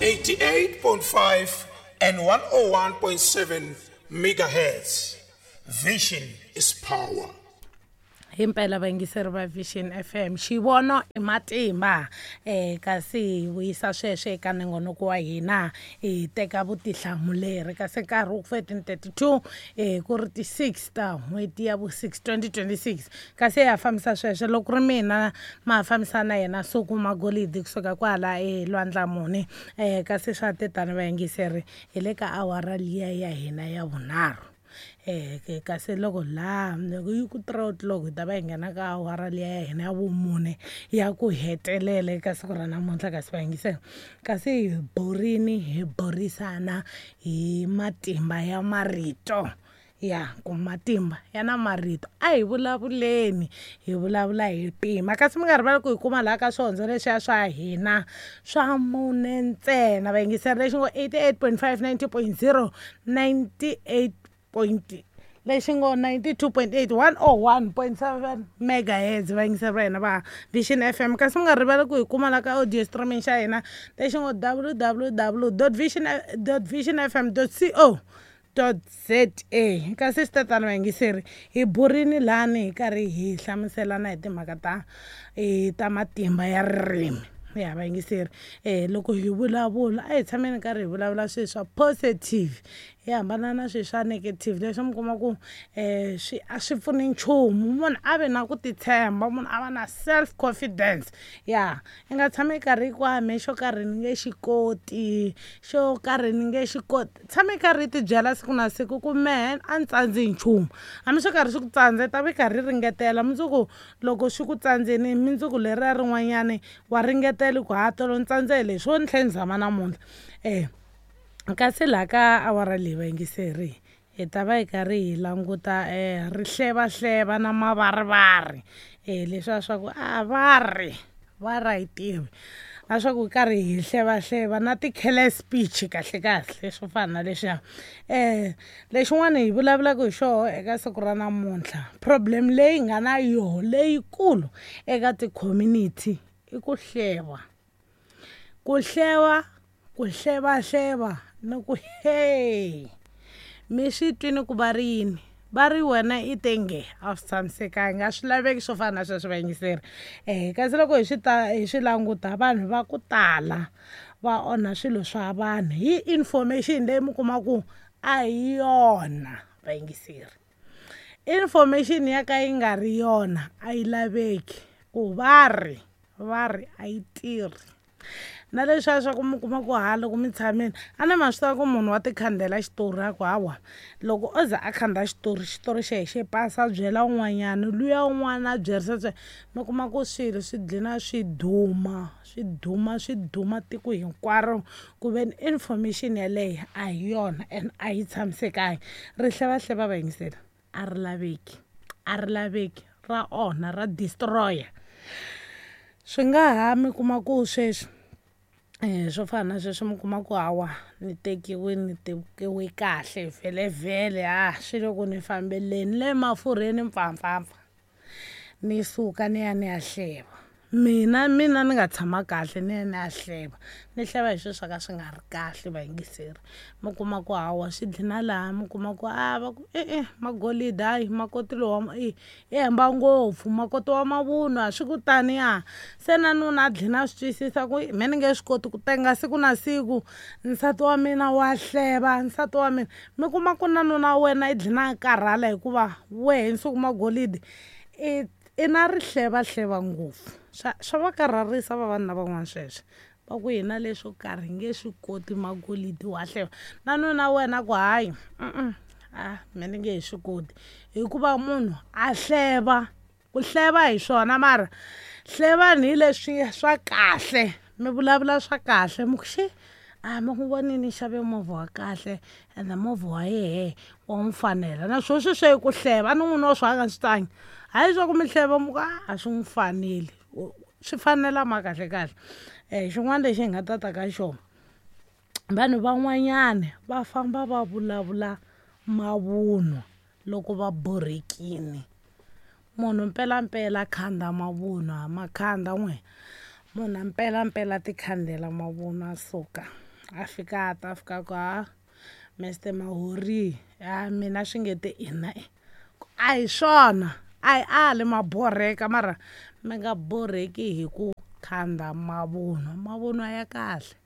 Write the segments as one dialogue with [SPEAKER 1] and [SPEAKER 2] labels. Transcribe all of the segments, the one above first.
[SPEAKER 1] 88.5 and 101.7 megahertz. Vision is power.
[SPEAKER 2] Himpela vayingiseri va Vision FM, xivono i matimba. Kasi hi vuyisa sweswo eka nongonoko wa hina, hi teka vutihlamuleri. Kasi nkarhi wu 13:32, ku ri ti-6 ta n'hweti ya vu 6 2026. Kasi ya fambisa sweswo loko ri mina ma fambisa na yena Suku Magolidi kusuka kwala eLwandlamuni. Kasi swa tetani vayingiseri, hi le ka awara liya ya hina ya vunharhu. Kasi loko laha loko yi ku 3 o'clock hi ta va hi nghena ka awara liya ya hina ya vumune ya ku hetelela eka siku ra namuntlha. Kasi vayingiseri, kasi hi borini hi burisana hi matimba ya marito, ya ku matimba ya na marito. A hi vulavuleni, hi vulavula hi pima. Kasi mi nga rivali ku hi kuma laha ka swihondzo leswiya swa hina swa mune ntsena vayingiseri, lexi ngo 88.5, 90.0, 98 point lexi ngo 92.8, 101.7 megahertz, vayingiseri va hina va Vision FM. Kasi mi nga rivali ku hi kuma la ka audio streaming xa hina lexi ngo www vision vision fm co za. Kasi swi tatana vayingiseri, hi burini lani hi karhi hi hlamuselana hi timhaka ta ta matimba ya ririmi ya vayingiseri. Loko hi vulavula, a hi tshameni karhi hi vulavula swilo swa positive, hi hambana na swilo swa negative leswi mi kuma ku swi a swi pfuni nchumu. Munhu a ve na ku titshemba, munhu a va na self confidence. Ya i nga tshami karhi ku me xo karhi ni nge xi koti, xo karhi ni nge xi koti. Tshami karhi i tibyela siku na siku ku mehe a ni tsandzi hi nchumu. Hambi swo karhi swi ku tsandza, i ta vi karhi ringetela. Mundzuku loko swi ku tsandzeni, mundzuku leriya rin'wanyani wa ringetela ku ha tolo ni tsandze hi leswi, wo ni tlhela ni zama namuntlha. Kasi laha ka awara leyi vayingiseri, hi ta va hi karhi hi languta rihlevahleva na mavarivari, leswiya swa ku a va ri va ra hi tivi na swa ku karhi hi hlevahleva na ti-careless speech, kahle kahle swo fana na leswiya. Lexin'wana hi vulavulaka hi xoho eka siku ra namuntlha, problem leyi nga na yoho leyikulu eka ti-community i ku hleva, ku hleva, ku hlevahleva ni ku he mi swi twini ku va ri yini, va ri wena i tenge a swi tshamisekanga, a swi laveki swo fana na sweswo vayingiseri. Kasi loko hi swi ta hi swi languta, vanhu va ku tala va onha swilo swa vanhu hi information leyi mi kuma ku a hi yona vayingiseri. Information ya ka yi nga ri yona a yi laveki, ku va ri va ri a yi tirhi. Na leswiya swa ku mi kuma ku ha loko mi tshamile, a ni ma swi tiva ku munhu wa tikhandela xitori, a ku hawa loko o za a khanda xitori, xitori xe xe pasa, a byela un'wanyana, luya un'wana a byerisa, mi kuma ku swilo swi dlina swi duma, swi duma, swi duma tiko hinkwaro, ku ve ni information yaleyo a hi yona and a yi tshamisekanga. Rihlevahleva vayingiseri a ri laveki, a ri laveki, ra onha, ra destroyer. Swi nga ha mi kuma ku sweswi swo fana na sweswo, mi kuma ku hawa ni tekiwe, ni tekiwe kahle vhelevhele, ha swi le ku ni fambeleni le mafurheni mpfampfampfa, ni suka ni ya ni ya hleva. Mina ni nga tshama kahle, ni ya ni ya hleva, ni hleva hi swilo swa ka swi nga ri kahle vayingiseri. Mi kuma ku hawa swi dlina laha, mi kuma ku a va ku e-e Magolidi, hayi makoti lowa i hemba ngopfu, makoti wa mavunwa, swi ku taniya. Se na nuna a dlina a swi twisisa ku me ni nge swi koti ku tenga siku na siku, nsati wa mina wa hleva, nsati wa mina. Mi kuma ku na nuna wa wena i dlina a karhala hikuva wehe Nsuku Magolidi i na rihlevahleva ngopfu. Swa va karharisa vavanuna van'wana sweswo, va ku hina leswo karhi hi nge swi koti, Magolidi wa hleva. Na nuna wena ku hayi a me ni nge he swi koti, hikuva munhu a hleva, ku hleva hi swona, mara hlevani hi leswi swa kahle, mi vulavula swa kahle, mi ku xi a mi ku vonini xave movha wa kahle ende movha wa yehe wa n'wi fanela, naswona sweswo i ku hleva. A ni n'wina wa swi nga swi twangi, hayi swa ku mi hleva mi ku a swi n'wi faneli, swi fanela ma kahle kahle. Xin'wana lexi hi nga ta ta ka xona, vanhu van'wanyana va famba va vulavula mavunwa loko va borhekile. Munhu mpelampela khanda mavunwa, makhanda n'we munhu mpelampela tikhandela mavunwa, suka. A fika a ta a fika ku ha Mister Mahori a mina swi nge te ina a hi swona a hi ali ma borheka mara mi nga borheki hi ku khanda mavunwa. Mavunwa ya kahle,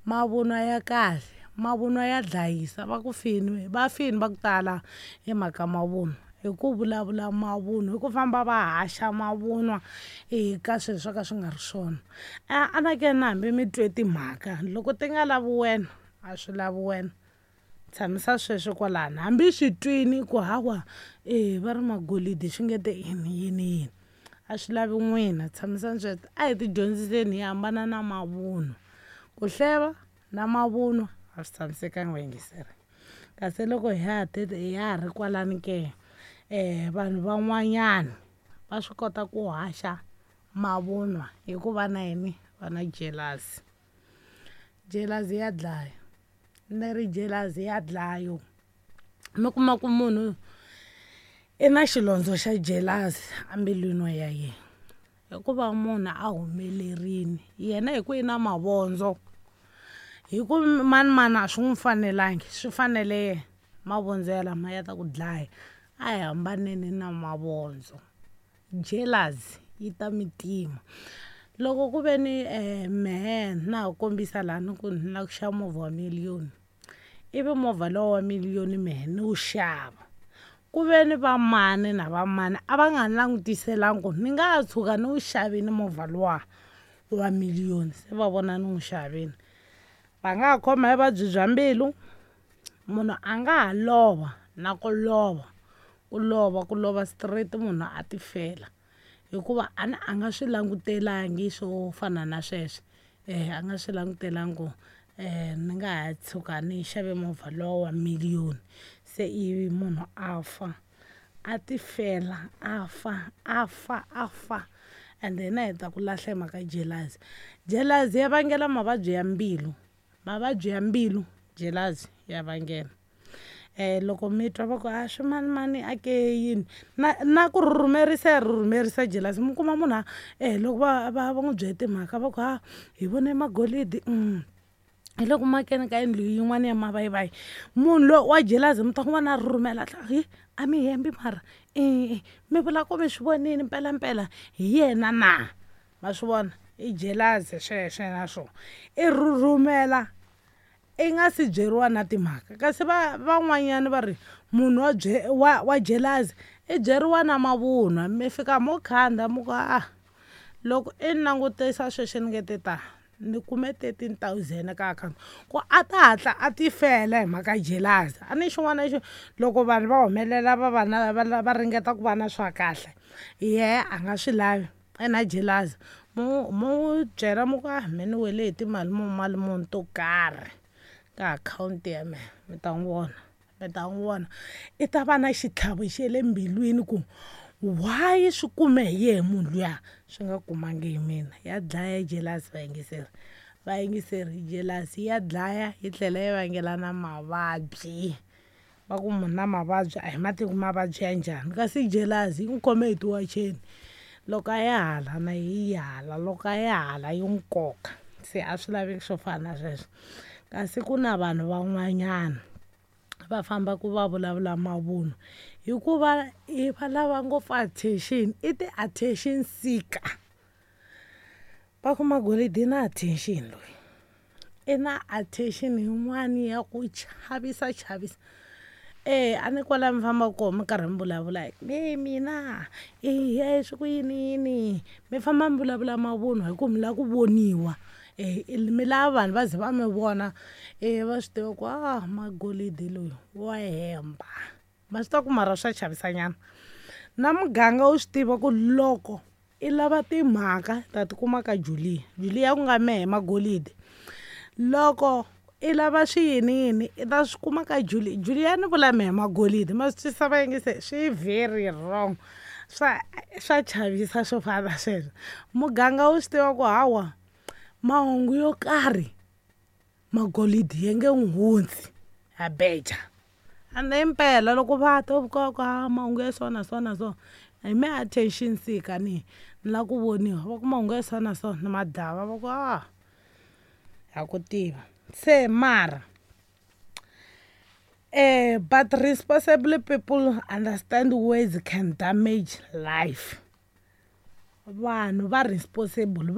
[SPEAKER 2] mavunwa ya kahle, mavunwa ya dlayisa. Va ku fini va fini va ku tala hi mhaka mavunwa, hi ku vulavula mavunwa, hi ku famba va haxa mavunwa eka swilo swo ka swi nga ri swona. A anakeni na hambi mi twe timhaka loko ti nga lavi wena a swi lavi wena, tshamisa sweswo kwalano. Hambi swi twini ku hawa e va ri magolidi swi nge te yini yini yini, a swi lavi n'wina, tshamisani sweswo. A hi ti dyondziseni hi hambana na mavunwa, ku hleva na mavunwa a swi tshamisekanga vayingiseri. Kasi loko ha ha ri kwalani ke, vanhu van'wanyana va swi kota ku haxa mavunwa hikuva na yini va na jealousy. Jealousy ya dlaya, ni ri jealousy ya dlaya. Mi kuma ku munhu i na xilondzo xa jealousy embilwini ya yena, hikuva munhu a humelerile yena hi ku i na mavondzo, hi ku mani mani a swi n'wi fanelangi, swi fanele yena. Mavondzo ya lama ya ta ku dlaya. A hi hambaneni na mavondzo. Jealousy yi ta mi tima. Loko ku ve ni mehe na ha kombisa laha ni ku ni lava ku xava movha wa miliyoni, ivi movha lowu wa miliyoni mehe ni wu xava, ku ve ni va mani na va mani a va nga ni langutiselangi ku ni nga tshuka ni wu xavile movha luwa wa miliyoni, se va vona ni n'wi xavile, va nga ha khoma hi vuvabyi bya mbilu. Munhu a nga ha lova na ku lova, ku lova ku lova straight munhu a ti fela, hikuva a ni a nga swi langutelangi swo fana na sweswo. A nga swi langutelangi ku ni nga ha tshuka ni xave movha lowa wa miliyoni, se ivi munhu a fa, a ti fela, a fa a fa a fa. And hina hi ta ku lahla hi mhaka jealousy. Jealousy ya vangela mavabyi ya mbilu, mavabyi ya mbilu jealousy ya vangela. Loko mi twa va ku a swi mani mani a ke yini na ku rhurhumerisa ya rhurhumerisa jealousy. Mi kuma munhu loko va va va n'wi byele timhaka va ku ha hi vone magolidi hi loko makeni ka yindlu yin'wana ya mavayivayi, munhu loyi wa jealousy mi ta n'wi vona a rhurhumela hi a mi hembi mara mi vula ku mi swi vonile mpelampela hi yena na ma swi vona i jealousy sweswo na swona i rhurhumela i nga si byeriwa na timhaka. Kasi va van'wanyana va ri munhu wa wa jealousy i byeriwa na mavunwa, mi fika mo khanda mi ku a loko i ni langutisa sweswi ni nge te ta ni kume 13 000 ka akhawunti, ku a ta hatla a ti fela hi mhaka jealousy. A ni xin'wana xo loko vanhu va humelela va va na va ringeta ku va na swa kahle, yehe a nga swi lavi, i na jealousy. Mo n'wi byela mi ku a me ni wele hi timali mali muni to karhi ka akhawunti ya mehe, mi ta n'wi vona, mi ta n'wi vona i ta va na xitlhavo xe le mbilwini ku why swi kume hi yehe munhu luya swi nga kumangi hi mina. Ya dlaya jealousy vayingiseri, vayingiseri jealousy ya dlaya yi tlhela yi vangela na mavabyi. Va ku munhu na mavabyi a hi mativi mavabyi ya njhani, kasi jealousy yi n'wi khome hi tiwacheni, loko a ya hala na yi hala, loko a ya hala yi n'wi koka, se a swi laveki swo fana na sweswo. Kasi ku na vanhu van'wanyana va famba ku va vulavula mavunwa hikuva va lava ngopfu attention, i ti-attention seeker. Va ku magolidi i na attention loyi, i na attention yin'wani ya ku chavisa chavisa. A ni kwala mi fambaka kona mi karhi mi vulavula e mina eya swi ku yini yini, mi famba mi vulavula mavunwa hi ku mi lava ku voniwa, mi lava vanhu va ze va mi vona, va swi tiva ku a magolidi loyi wa hemba. Ma swi tiva ku mara swa chavisanyana na muganga wu swi tiva ku loko i lava timhaka ta tikuma ka Julia, Julia ku nga mehe magolidi. Loko i lava swi yini yini i ta swi kuma ka Julia, Julia ni vula mehe magolidi. Ma swi twisisa vayingiseri, swi very wrong, swa swa chavisa swo fana na sweswo. Muganga wu swi tiva ku hawa mahungu yo karhi magolidi ya nge n'wi hundzi ya beja. Ende impela loko va ta ku ka mahungu ya so na so na so, hi me attention seeker ni ni lava ku voniwa, va ku mahungu ya so na so ni madlava, va ku a ha ku tiva. Se mara but responsible people understand words can damage life. Vanhu va responsible.